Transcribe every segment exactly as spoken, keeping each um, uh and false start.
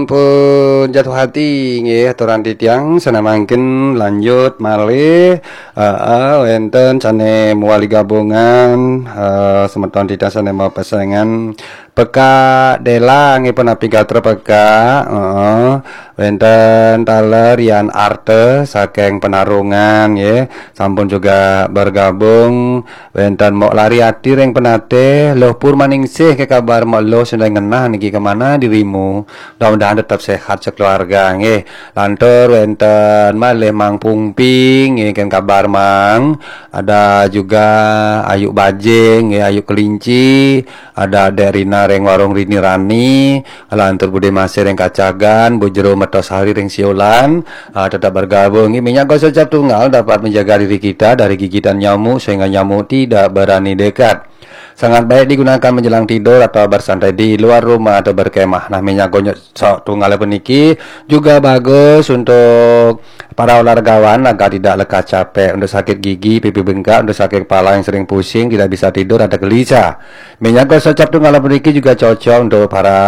Pun jatuh hati nggih aturan titiang, sané mangkin lanjut malih. Heeh, wénten sané mewali gabungan, eh, semeton titiang sané mapesengan Peka Dela nggih, punapi gatra Peka. Heeh. Wénten taler Yan Arte saking Penarungan nggih, sampun juga bergabung. Wénten Mok Lari Ati ring Penatih, Luh Purmaningsih, ké kabar Mok Luh, sedang ngenah niki, kemana dirimu? Mudah-mudahan tetap sehat sekeluarga nggih. Lantur wénten malih Mang Pungping nggih, ké kabar Mang? Ada juga Ayu Bajing nggih, Ayu Kelinci, ada Dek Rina ring Warung Rini Rani, lantur Bude Masih ring Kacagan, Bu Jero Metosari ring Siolan, ah, tetap bergabung nggih. Minyak gosok cap tunggal dapat menjaga diri kita dari gigitan nyamuk sehingga nyamuk tidak berani dekat. Sangat baik digunakan menjelang tidur atau bersantai di luar rumah atau berkemah. Nah, minyak gosok tunggal puniki juga bagus untuk para olahragawan agar tidak lekas capek, untuk sakit gigi, pipi bengkak, untuk sakit kepala yang sering pusing, tidak bisa tidur, ada gelisah. Minyak gosok cap tunggal puniki juga cocok untuk para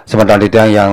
semeton titiang yang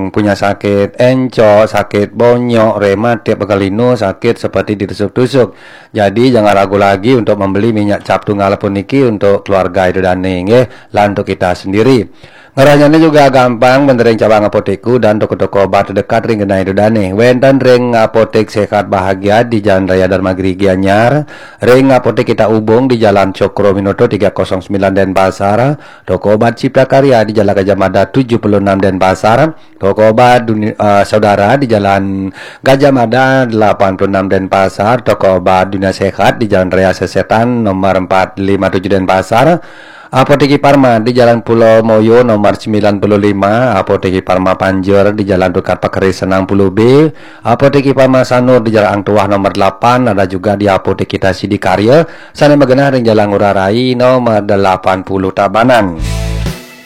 punya sakit encok, sakit bonyok, rematik, pegal linu, sakit seperti ditusuk-tusuk. Jadi jangan ragu lagi untuk membeli minyak cap tunggal puniki untuk keluarga Ida Dane nggih, lan untuk kita sendiri. Ngerahnyane juga gampang, wenten ring cabang apotekku dan toko-toko obat terdekat ring genah Ida Dane. Wenten ring Apotek Sehat Bahagia di Jalan Raya Dharma Giri Gianyar, ring Apotek Kita Ubung di Jalan Cokro Minoto tiga kosong sembilan Denpasar, toko obat Cipta Karya di Jalan Gajah Mada tujuh puluh enam Denpasar, toko obat Duni- eh, Saudara di Jalan Gajah Mada delapan puluh enam Denpasar, toko obat Dunia Sehat di Jalan Raya Sesetan nomor empat lima tujuh Denpasar, Apotek Parma di Jalan Pulau Moyo nomor sembilan puluh lima, Apotek Parma Panjur di Jalan Tukad Pakeris enam puluh B, Apotek Parma Sanur di Jalan Ang Tuah nomor delapan, ada juga di Apotek Kita Sidikarya, sane magenah ring Jalan Ngurah Rai nomor delapan puluh Tabanan.